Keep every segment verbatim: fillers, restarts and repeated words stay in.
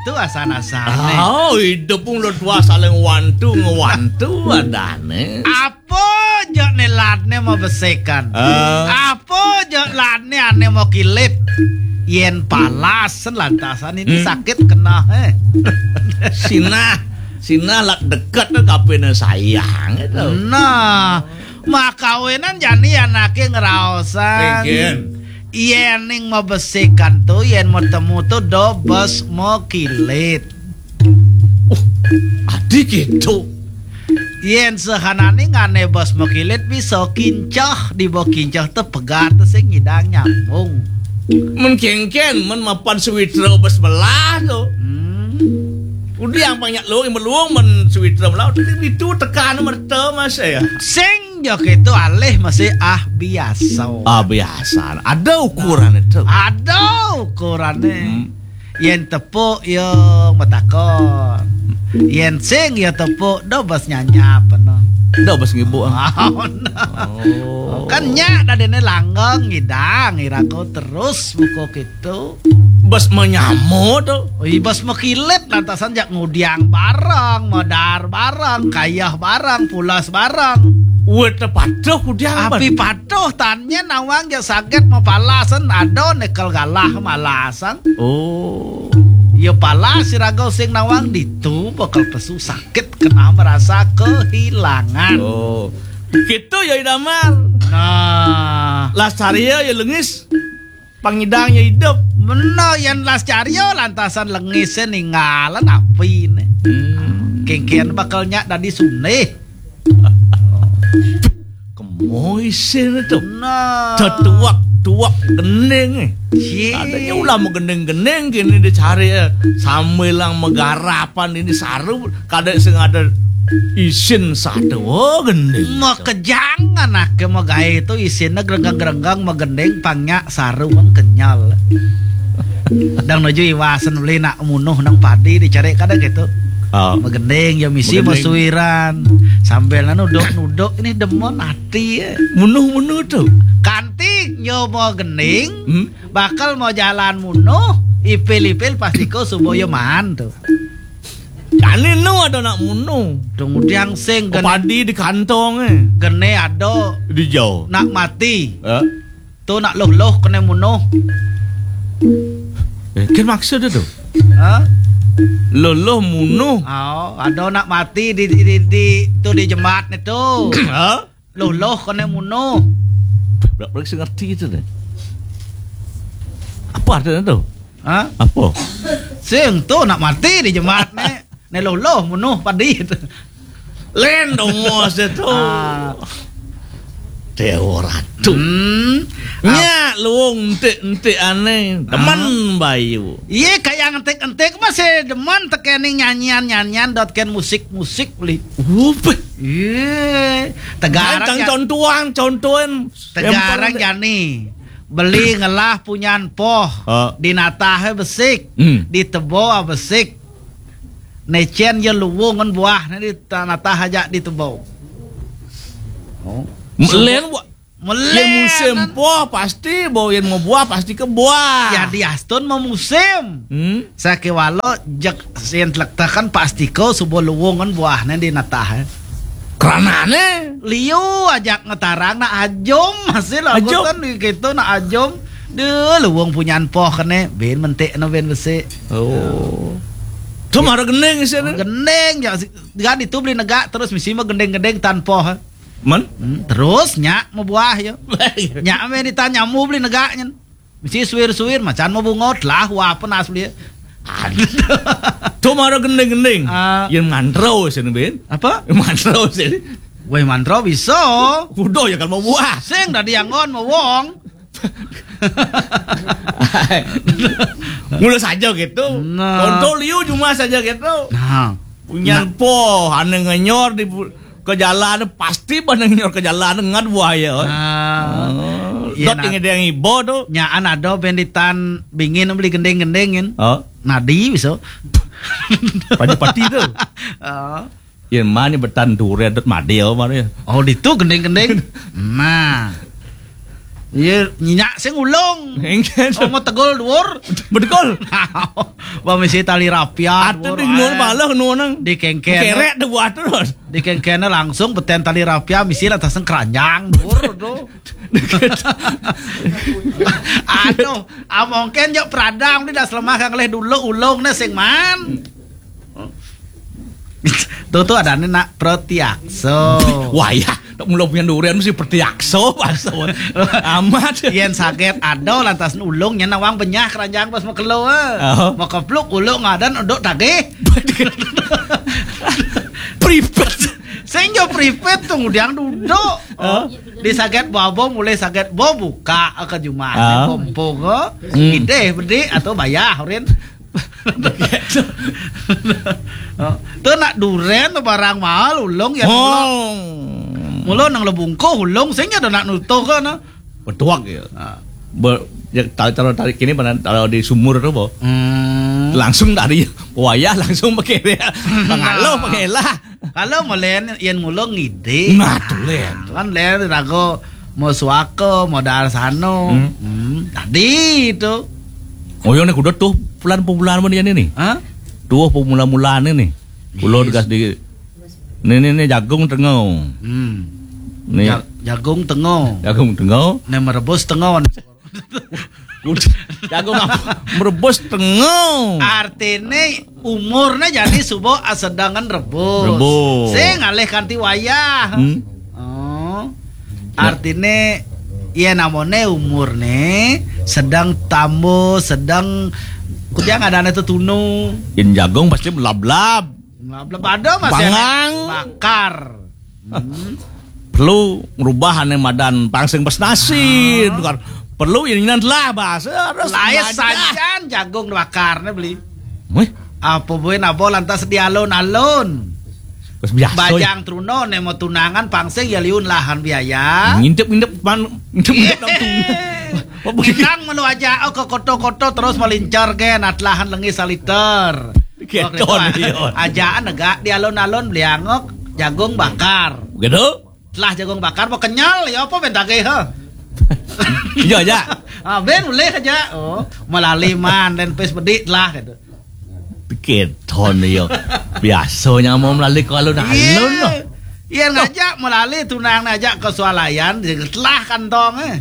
Itu asan-asané. Oh, hidup pun udah tua saling wantu ngewantu adane. Apa ja né latné mau besikan? Eh. Apa ja latné ané mau kilit? Yén palas lantasan ini Hmm. sakit kena, eh. Sinah, sinah lak deket tuh kapene sayang itu. Nah, makawinan jani anaké ngraosan. Mungkin. Yén ning mabesikan tuh, yén mau temu tuh dobes mau kilit. Uh, adi gitu. Yén sehanané ngané bes mau kilit bisa kincah, di bawah kincah tuh pegat tuh sing ngidang nyambung. Men kéngkén, men mapan sewitra bes belah tuh. Hmm. Udah yang banyak lo, yang meluang men sewitra belah, udah itu tekan merta mas ya. Sing ja kéto alih masih ah biasa. Ah, biasa. Ada ukuran itu. Ada ukurannya. Hmm. Yén tepuk ya matakon. Yén sing ya tepuk, dobes nyanyap no. Dobes ngibuk, ah. Oh, no. Oh. Kan nyak dadene langgeng ngidang, irago terus buka kéto. Bes menyamo tuh. Oh, iya, bes mekilit lantasan jak ngudiang bareng, medar bareng, kayah bareng, pulas bareng. Wet patuh kudiang. Api patuh tanya nawang jak saget mapalasan, ada nekel galah malasan. Oh. Ya palas irago sing nawang ditu bakal pesu sakit kena merasa kehilangan. Oh. Gitu ya Idamar. Nah. Las carya ya lengis. Pangidang ya hidup. Bener, yén las carya lantasan lengisé ninggalan apiné. Hmm. Kéngkén bakal nyak dadi sunih. Kemo isin itu. Nah. Tetuak-tuak gending, eh. Cie. Adanya ulama gending-gending kini dicari, eh. Sambil lang megarapan ini saru, kada sing ada isin satu. Oh, gending. Makejang anake magaé itu isinnya gerenggang-gerenggang magending pangnya saru mang kenyal. Dang nuju iwasan beli nak munuh nang padi dicari kada gitu. Oh. Magending ya misi masuiran. Sambil nuduk-nuduk ini demen ati ya. Munuh-munuh tuh. Kanti nyo mau gending, hmm? Bakal mau jalan munuh, ipil-ipil pasti ko subo yo maan tuh. Kani nu ada nak munuh. Kemudian sing gen- padi di kantong eh. Gene ada di jauh. Nak mati. Eh? Tu nak loh-loh kena munuh. Eh, kan maksud tu. Ha? Loh-loh munuh. Oh, ada nak mati di di di, di tu di jembat ni tu. Ha? Loh-loh kena munuh. Belak-belak sing ngerti tu deh. Apa artinya tu? Ha? Apa? Sing tu nak mati di jembat ni. Ni loh-loh munuh padi tu. Len dong mos tu. Ah. Dewa Ratu. Hmm. Nya luung entik-entik aneh. Demen bayu. Iya, kayak entik-entik masih demen tekening nyanyian-nyanyian dot ken musik-musik beli. Upeh. Iya. Tegarang tang ya. Contuan, contuan. Tegarang jani. Beli ngelah punyan poh. Oh. Dinatah besik. Hmm. Ditebo besik. Necen ya luwung ngan buah ni di tanatah aja ditebo. Oh. Melen buah. Melen. Yen musim poh pasti bo yen mau buah pasti ke buah. Ya diastun mau musim. Hmm. Sakewalo jek sien telektakan pasti ko subo luwung ngan buah ni di natah. Eh. Keranane liu ajak ngetarang nak ajum hasil ajum. Angkutan di gitu nak ajum. Deh luwung punyan poh kene ben mentik no ben besik. Oh. Cuma ada gending sih. Gending ya si- kan itu beli negak terus misi mah gending-gending tan poh. Men? Hmm, terus nyak mau buah yo. Nyak me ditanyamu beli negaknya. Misi suwir-suwir macan mau bungot lah wah penas beli. Aduh. Cuma ada gending-gending. Ah. Yang mantro sini ben. Apa? Mantro sini. Weh mantro bisa. Udah ya kalau mau buah. Sing dari anggon mau wong. Mula saja gitu. Nah. Contoh liu cuma saja gitu. Nah. Punya nah. Po ane ngenyor di ke jalan pasti pada ngenyor ke jalan ngat buaya. Nah. Oh. Iya, dot nah. Yang ada yang ibo tuh. Nyaan ada benditan bingin beli gending-gendingin. Oh. Nadi bisa. Padi-padi tuh. Oh. Yen mani betan dure dot madeo mani. Oh, ditu gending-gending. Nah. Iya, nyinya sing ulung. Engken. Oh, mau tegul dhuwur. Betul. Ba misi tali rapia. Atuh dhuwur di nol ae. Malah nu nang. Di kengken. Kerek dua terus. Di kengken langsung beten tali rapia misi lantas keranjang dhuwur tuh. Aduh, amongken yo pradang di das lemah kang leh dulu ulung ne sing man. Tuh tuh ada nih nak Protiakso. Wah ya, tak mula punya durian mesti Protiakso bahasa. Amat. Yen saget ada lantas ulung nya nawang benyah keranjang pas makelo. Oh. Mau kepluk ulung ngadan uduk tagih. Pripet. Sing yo pripet tuh ngudiang duduk. Oh. Di saget babo mulai saget bo buka ke jumah. Ah. Kompong ke. Hmm. Ideh bedik atau bayah urin. Oh. Tuh nak duren tuh barang mahal ulung ya. Oh. Mula nang lebungkuh ulung sing ada nak nutuh kan. Betuak ya. Ah. Be, ya, tarik, tarik, tarik kini mana kalau di sumur tuh, bo. Hmm. Langsung dari wayah langsung pakai dia. Pengaloh, pengelah. Kalau melen yen mula ngide. Nah, tuh, Len. Kan len rago mau suaka, modal sano. Hmm. Hmm, tadi itu. Oh, yo nek kudu tuh bulan pembulan mana ini nih? Hah? Tuh pemula-mulane nih. Kulo. Yes. Tegas di. Nih, nih, nih jagung tengah. Hmm. Nih. Ja-, jagung tengah. Jagung tengah. Nih merebus tengah. Jagung apa? Merebus tengah. Artine umurnya jadi subuh asedangan rebus. Rebus. Sing ngalih kanti wayah. Hmm. Oh. Ya. Artine ya namone umurne sedang tambo, sedang kudiang ada ane tetunu. Yen jagung pasti belab-lab. Belab-lab ada masih. Bangang. Bakar. Hmm. Perlu ngerubah ane madan pangsing pesnasi. Ah. Tukar. Perlu ini telah bahasa harus. Lain sajan jagung bakarnya beli. Weh. Apa boy nabo lantas di alun-alun. Terus biasa. Bajang ya. Truno ne mau tunangan pangsing ya liun lahan biaya. Ngintip-ngintip pan, ngintip-ngintip nang tunggu. Apa begini? Minang melu aja oh, ke koto-koto terus melincar ke natlahan lengi saliter. Keton. Waktu itu, iya. Ajaan negak di alun-alun beli angok jagung bakar. Gitu? Telah jagung bakar mau kenyal ya apa ben tagih, ha? Iya aja. Ah, ben boleh aja. Oh, melali man dan pes bedik lah gitu. Keton yo. Biasanya mau melali kalau nak alun. Iya. Iya ngajak melali tunang ngajak ke swalayan telah kantong eh.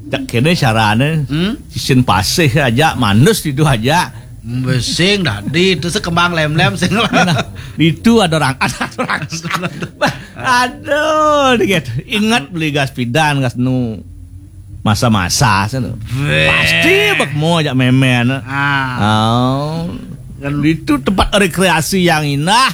Cak kene carane. Hmm? Sisin pasih aja manus itu aja. Besing dah di itu sekembang lem-lem sing. Nah, itu ada orang ada orang. Aduh, dikit. Ingat beli gas pidan gas nu masa-masa sana. Pasti bek mau ajak memen. Ah. Oh. Kan itu tempat rekreasi yang indah.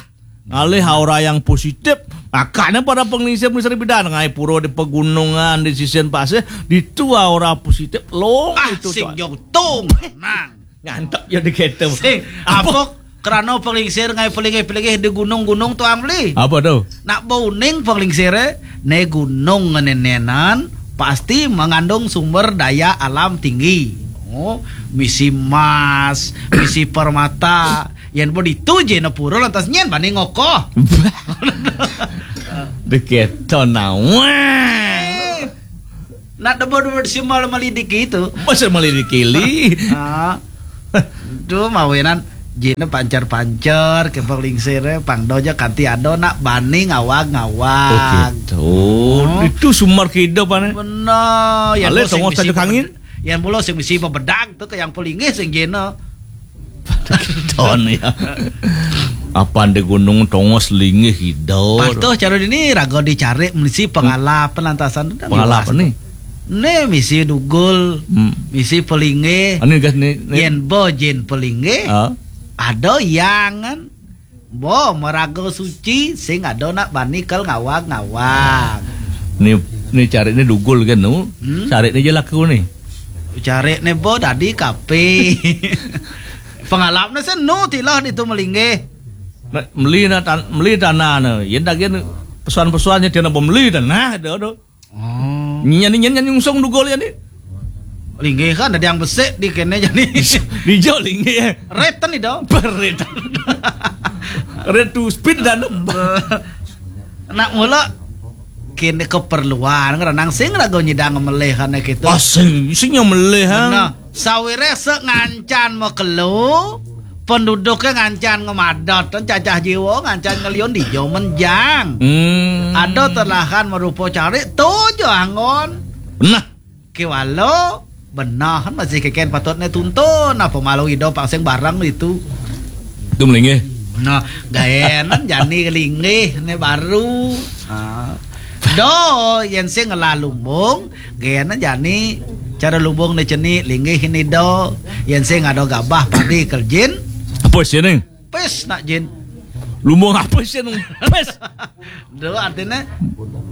Ngalih aura yang positif. Makanya para penglingsir penglingsir bidan ngai pura di pegunungan di sisian pasir ditu aura positif long ah, itu sing jauh tung nang. Ngantep ya di gitu. Sing apa? Apa? Kerana penglingsir ngai pelingih-pelingih di gunung-gunung tuang beli. Apa tu? Nak bauning penglingsir eh, ne gunung ngenenenan pasti mengandung sumber daya alam tinggi. Oh, misi emas, misi permata. Yen bo ditu je na pura lantas nyen bani ngoko. Deketo nawa. Nak debo debo simal melidiki itu. Masa melidiki li? Ah. Duh mawenan jine pancar-pancar ke penglingsir eh, pang doja kanti ado nak bani ngawag-ngawag. Oh gitu. Oh. Itu sumber kehidupan eh. Benar. Ya, ale tongos tajuk angin. Yang mula sing misi bebedag tu ke yang pelinggih sing jena. Ton ya. Apan di gunung tongos linggih hidor. Patuh cara ini raga dicari misi pengalap pelantasan tu. Pengalap ni. Ni misi dugul, hmm. Misi pelinggih. Ani gas ni, ni. Yen bo jin pelinggih. Ah. Ada yang kan. Bo meraga suci sing ada nak bani kal ngawag-ngawag. Ni ni cari ni dugul kan tu. Hmm? Cari ni je laku ni. Cari ni bo tadi kape. Pengalap ni senu tilah di tu melinggih. Meli na tan meli tanah ni. Yen dah gen pesan-pesan nya tiada bemeli tanah dah tu. Oh. Nyan nyan nyan nyungsung dugul ya ni. Linggih kan ada yang besek di kene jadi. Dijok linggih eh. Red tan itu. Berit. Red to speed dan. Nak mula kéné keperluan, ngranang sing raga nyidang melih ané kéto. Ah, sing, sing melih, ha? Nah, sawiré sek ngancan makelo, penduduknya ngancan ngemadat, cacah jiwa ngancan ngeliun dija menjang. Hmm. Ada telahan marupa carik, to ja anggon. Nah. Kéwala, beneh masih kékén patutné tuntun, apa malu ida pang sing bareng ditu. Itu melinggih. Nah, gaénan jani linggih né baru. Ha. Do, yén sing ngelah lumbung, gaénan jani cara lumbung né cenik linggih né do. Yén sing ada gabah padi kerjin. Apa sih, Ning? Pis nak jin. Lumbung apa sih, Ning? Pis. Do, artinya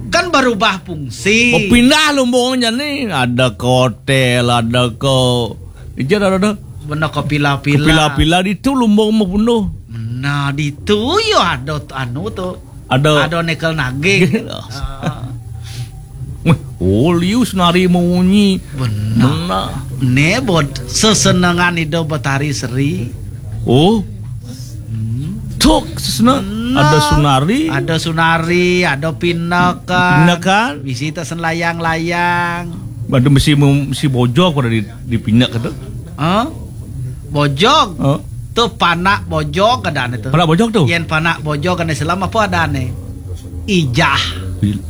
kan berubah fungsi. Berpindah lumbungnya nih. Ada ke hotel, ada ke, ija ada, ada. Bener ke pila-pila. Ke pila-pila ditu lumbung mah penuh. Nah, ditu ya ada t-, anu tuh. Ada. Ada nekel naging. Ah. Wih, oh, liu Sunari munyi. Bener. Bener. Né buat sesenengan hidup Betari Seri. Oh. Hmm. Tok, sesena. Hmm. Ada Sunari. Ada Sunari, ada Pinakan. Pinakan. Bisi tak sen layang-layang. Ada bisi mem-, bisi bojog pada di, di Pinak itu. Hah? Bojog. Hah? Tuh panak bojog adané tuh. Panak bojog tuh? Yén panak bojog kan Islam apa adané? Ijah.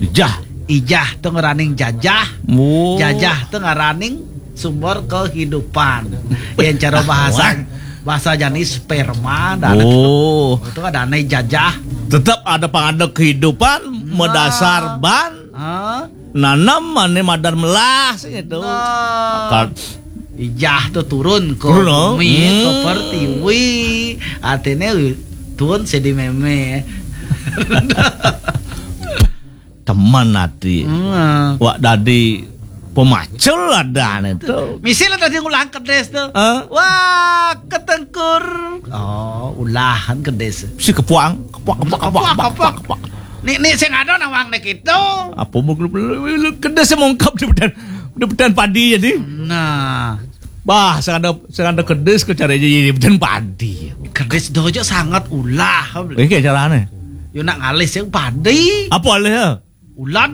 Ijah. Ijah tuh ngaraning jajah. Oh. Jajah tuh ngaraning sumber kehidupan. Yén cara bahasa, wah, bahasa jani sperma dan oh. Itu adané jajah. Tetap ada pang ada kehidupan, nah, medasar ban. Hah? Nanam mané madan melah sing itu. Nah. Maka ijah tuh turun ke turun, oh, bumi, ke, hmm, pertiwi. Artinya turun sedi mémé. Teman ati. Hmm. Wak dadi pemacul adané tuh. Misalnya tadi ngulang kedis tuh. Hah? Wah, ketengkur. Oh, ulahan kedis. Si kepuang, kepuang, kepuang, kepuang, kepuang, kepuang, kepuang. Nih, nih, sing ada nawang nih gitu. Apa mau lu, lu, lu, lu, kedis mongkap di bedan, di bedan padi jadi. Nah. Bah, sing ada, sing ada kedis ke cara jadi di bedan padi. Kedis dojo sangat ulah. Ini kayak caranya. Yo nak ngalih sing padi. Apa alih ya? Ulan.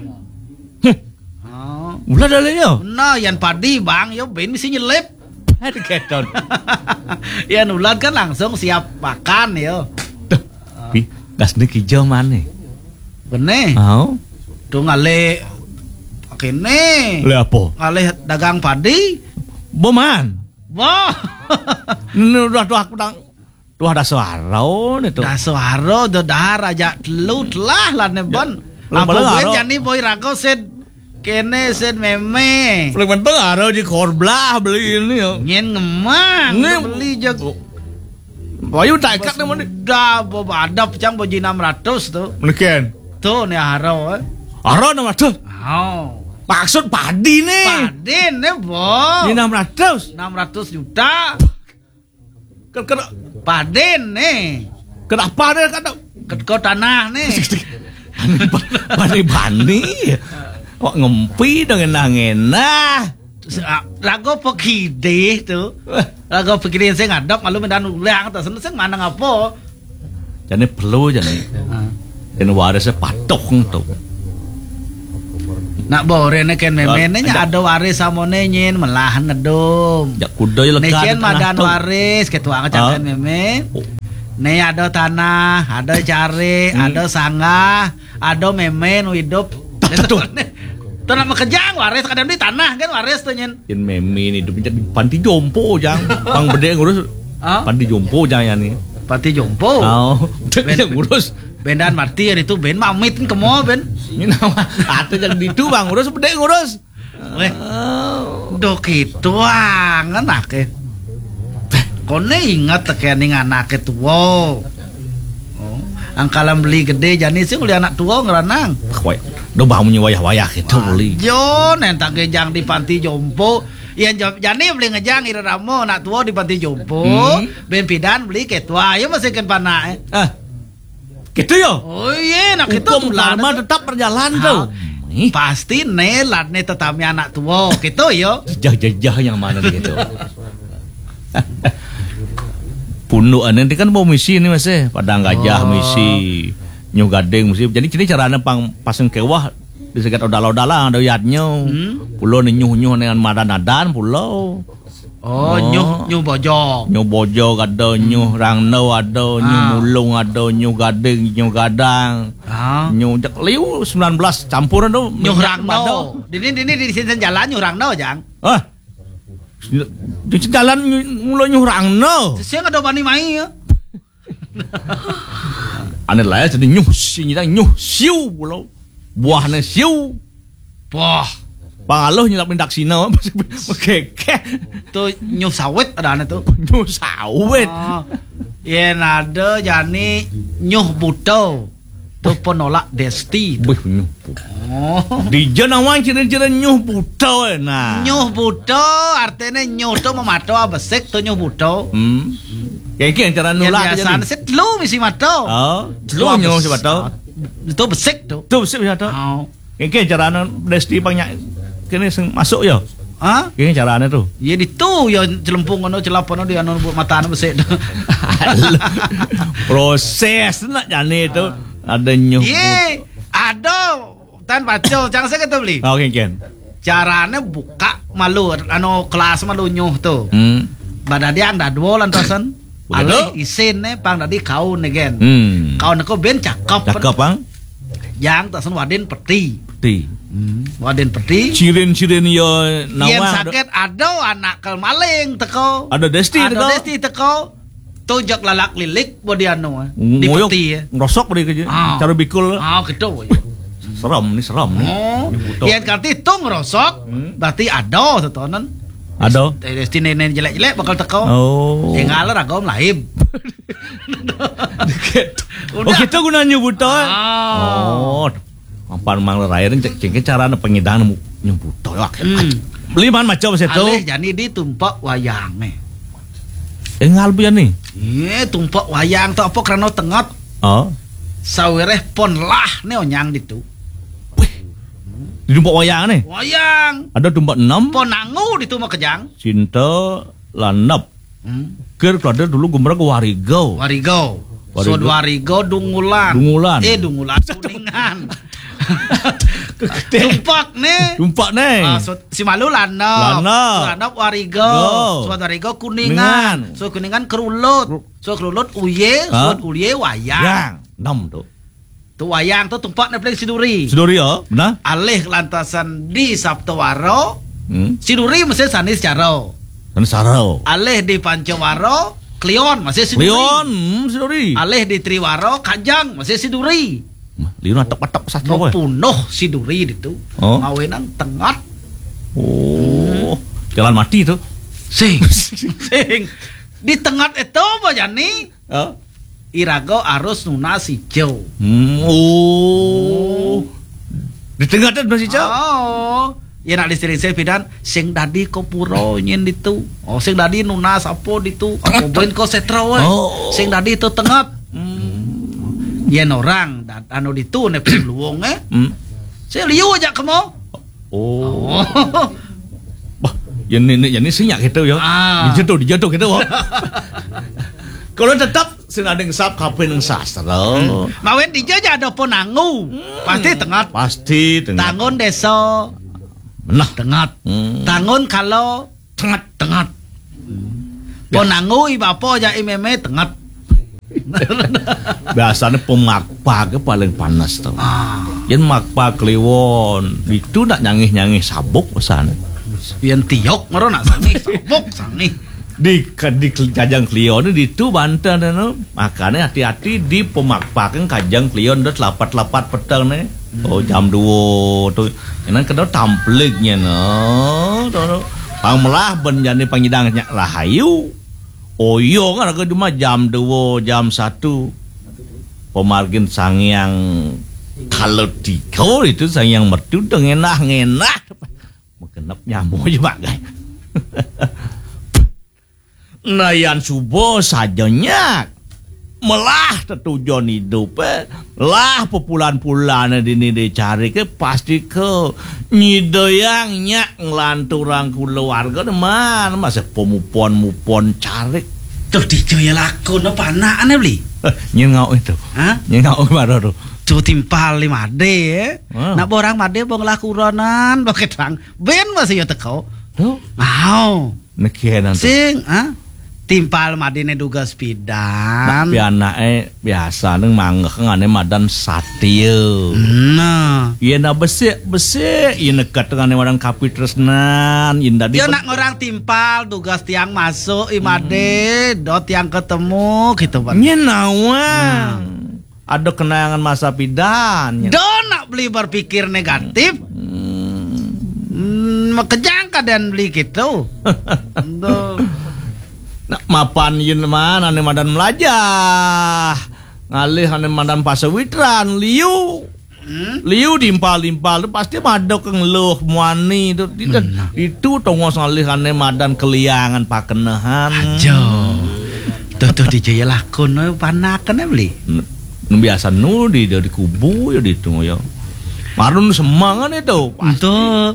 Heh. Oh. Ulan alih ya? Nah, yang padi bang, yo ben mesti nyelip. Padi keton. Yang ulan kan langsung siap makan yo. Tuh, pi, gas ni kijau mana? Bené. Au. Tuh ngalih kéné. Lé apa? Ngalih dagang padi. Boman. Wah. Ini udah tuh aku tang, tuh ada suara nih tuh. Ada suara, udah dahar aja telu telah lah nih, ya, bon. Apa gue jani boy rago sed kéné sed mémé. Paling penting ada di korblah beli ini ya. Nyen ngemang, ini beli jag. Oh. Wayu tak ikat nih, mandi. Dah, bo-, ada pecang boji enam ratus tuh. Mungkin. Tuh, nih haro, eh. Haro enam ratus? Oh. Maksud padi nih. Padi nih, bo. Di enam ratus? Enam ratus juta. Ken-, ken-, padi nih. Kenapa deh kata? Ken-, kau tanah nih. Bani-bani. Wak ngempi dong ngenah-ngenah. Terus, ah, lagu apa kidih tuh? Eh. Lagu apa kidih sing ngadep, malu mendan ulang, terus sing mana ngapa? Jani perlu jani. Ah. Dan warisnya patuh tuh. Nak boréné kén méméné nya ada waris samoné nyin melah ngedum. Jak kuda ya. Né lekat kén di tengah madan tuh. Waris, ketua ngecak kén mémé. Oh. Né ada tanah, ada cari, hmm, ada sanggah, ada mémé nu hidup. Tuh. Tuh nak makejang waris kadang di tanah kan waris tuh nyin. Yén mémé ni hidup di panti jompo jang. Pang bedé ngurus. Hah? Panti jompo jang ya nih. Panti jompo. Oh, ben, yang ngurus. Bendan mati hari itu ben mamit kan kemo ben. Ini nama kata yang ditu bang ngurus bedé ngurus. Weh. Oh. Dok itu angen ake. Kone ingat tekening anake tua. Oh, angkalan beli gede jani sing uli anak tua ngeranang. Kowe, do bau munyi wayah-wayah gitu beli. Jo, nentang gejang di panti jompo. Iya, jo-, jani beli ngejang ira ramo anak tua di panti jompo. Hmm. Ben pidan beli ketua, ya masih ken panak, eh. Ah, gitu ya? Oh iya, nak itu hukum tular karma itu. Tetap berjalan tuh. Ah, ih. Pasti nelat nih tetami anak tua, gitu ya. Jejah-jejah yang mana gitu. Punduk ini kan mau misi nih masih, Padang Gajah, oh, misi, New Gading misi. Jadi, jadi caranya pang pasang kewah Di sekat odal-odalan ada yadnya. Hmm. Pulo ni nyuh-nyuh dengan madan-adan pulo. Oh, oh. Nyuh, nyuh bojog. Nyuh bojog ada, hmm, nyuh rangno ada, nyuh, ah, mulung ada, nyuh gading, nyuh gadang. Ah. Nyuh jak liu sembilan belas campur tu. Nyuh rangno. Dini, dini di sini jalan nyuh rangno, Jang. Ah. Di jalan nyuh, mula nyuh rangno. Sesiang ada bani mai ya. Ane lah ya, jadi nyuh sing kita nyuh siu pulo. Buahnya siu. Wah. Pangaloh nyelap mindak sina. Oke, oke. Tu nyuh sawit ada ane tu. Nyuh sawit. Oh. Yen ada jani nyuh buto. Tu penolak desti tu. Bih, nyuh buto. Oh. Dija nawang ciri-ciri nyuh buto, nah. Nyuh buto artinya nyuh tu memato besik tu nyuh buto. Hmm. Kayak gini cara nolak biasa sih telu misi mato. Oh, telu nyuh si mato. Tu besik tu. Tu besik si mato. Oh. Kayak gini cara desti banyak kini sing masuk ya. Ha? Kayak gini caranya tu. Ya ditu ya celempung kono celap kono di anu buat mata anu besik tu. Proses nak jani tu. Ah. Ada nyuh. Ye, ada. Tan baca, jangan saya kata beli. Oke, Ken. Carane buka malu, anu, kelas malu nyuh tu. Hmm. Badadi anda dua lantasan. Begitu. Alih isin ne, pang dadi kaun ne, Gen. Hmm. Kaun ko ben cakep. Cakep, pang. Yang tasan wadin peti. Peti. Hmm. Wadin peti. Cirin-cirin yo. Yang nawang sakit ada anak kel maling teko. Ada desti teko. Ada desti teko. Tu jak lalak lilik bodi anu, eh. Di peti, eh. Ngerosok bodi kerja. Ah. Cara bikul. Ah, gitu. Seram ni, seram ni. Oh, yang kati tu ngerosok, hmm, berarti ada setonan. Ada. Desti nenek jelek-jelek bakal teko. Oh. Tinggal ragam lahib. Oh, kita gunanya buta. Ah. Oh. Mapan mang lerai cek cek cara pengidang nemu nyebut toyo. Hmm. Beli man macam saya tu. Alih jani di tumpak wayang ni. Engal bian ni. Ye, tumpak wayang tu apa kerana tengat. Oh. Sawireh pon lah ni onyang ditu. Wih. Di tumpak wayang ni. Wayang. Ada tumpak enam. Pon nangu ditu makejang. Cinta landap. Hmm. Kir kelada dulu gumbrang ke Warigo. Warigo. Warigo. Sud Warigo Dungulan. Dungulan. Eh, Dungulan Kuningan. Tumpak ne. Tumpak ne. Ah, Sud, si Malu Lanop. Lanop. Lanop Warigo. Go. Sud Warigo Kuningan. Kuningan. Sud Kuningan Kerulut. Kru- Sud Kerulut Uye. Ha? Sud Uye Wayang. Yang. Enam tu. Tu wayang tu tumpak ne paling Siduri. Siduri, oh, benar. Alih lantasan di Sabtu Waro. Hmm. Siduri mesti Sanis Caro. Sanis Caro. Alih di Panca Waro, Kliwon masih Siduri. Kliwon, hmm, Siduri. Alih di Triwaro, Kajang masih Siduri. Mah, liun atok-atok sastra. Mau eh. Punuh Siduri ditu. Oh. Mawinan tengat. Oh, hmm. Jalan mati tu. Sing. Sing. Di tengat itu apa jani? Oh. Irago arus nunas ijo. Hmm, oh. Di tengah tu nunas ijo. Oh. Ya nak disering saya pidan sing dadi ko pura nyen ditu. Oh, sing dadi nunas apa ditu? Apa ben ko setra we? Oh. Sing dadi tu tengat. Hmm. Yen orang dat anu ditu ne luwung eh. Hmm. Saya liu aja kemo. Oh. Oh. Bah, yang ni, ni, yang ni senyap kita ya. Ah. Dijatuh, dijatuh kita wah. Kalau tetap sing ada ngesap kape nang sastra. Hmm. Mawen dija aja ada ponangu. Hmm. Pasti tengat. Pasti tengat. Tangun desa. Nah. Tengat. Hmm. Tangun kalau tengat, tengat. Ya. Ponangu i bapa aja i meme tengat. Biasanya pemakpak paling panas tu. Ah. Yen makpak kliwon, itu nak nyangih-nyangih sabuk pesan. Yen tiok maro nak sangih sabuk sangih. Di di jajang kliwon itu banten tu. Makane hati-hati di pemakpak kajang kliwon dah telapat-telapat petang ni. Oh, jam dua tu. Inan kena tampliknya no. Tu, tu. Pang melah ben jani pangidang nyak rahayu. Oh, iya kan aku cuma jam dua, jam satu. Pemargin sangyang kalau tiga itu sangyang mertu dah ngenah-ngenah. Mekenep nyamuk je bagai. Nayan suba saja nyak. Melah tetujon idup eh. Lah pepulan-pulan dini dicari ke pasti ke nyidayang nyak nglanturang keluarga deman masa pemupon-mupon cari. Tuh dijo ya lakon apa anak ane beli? Nyén ngauk itu. Hah? Nyén ngauk baru tuh. Tuh timpal di Madé, ya. Ah. Nak borang Madé bong lah kuronan, bong ketang. Ben masih ya teko. Tuh. Mau. Nekian tuh. Sing, ah? Timpal Madé né dugas pidan. Nak pianake biasa neng manggeh ngane madan satia. Nah. Iya na besik-besik, iya nekat ngane madan kapitresnan, iya tadi Dia pen- nak ngorang timpal, dugas tiang masuk, i Madé, do tiang ketemu, gitu, Pak. Nyén nawang. Ada kenangan masa pidan. Nyén. Do nak beli berpikir negatif. Hmm, makejang keadaan beli gitu. Do. Nak mapan yen man ane madan melajah. Ngalih ane madan pasawitran, liu. Hmm? Liu dimpal-dimpal tu pasti madok ke ngeluh muani tu. Di- Benar. Itu tongos ngalih ane madan keliangan pakenehan. Aja. Tuh tuh di jaya lakon, eh, panakan, eh, beli. N- Biasa nu di di kubu ya di tu ya. Marun semangan itu. Tuh.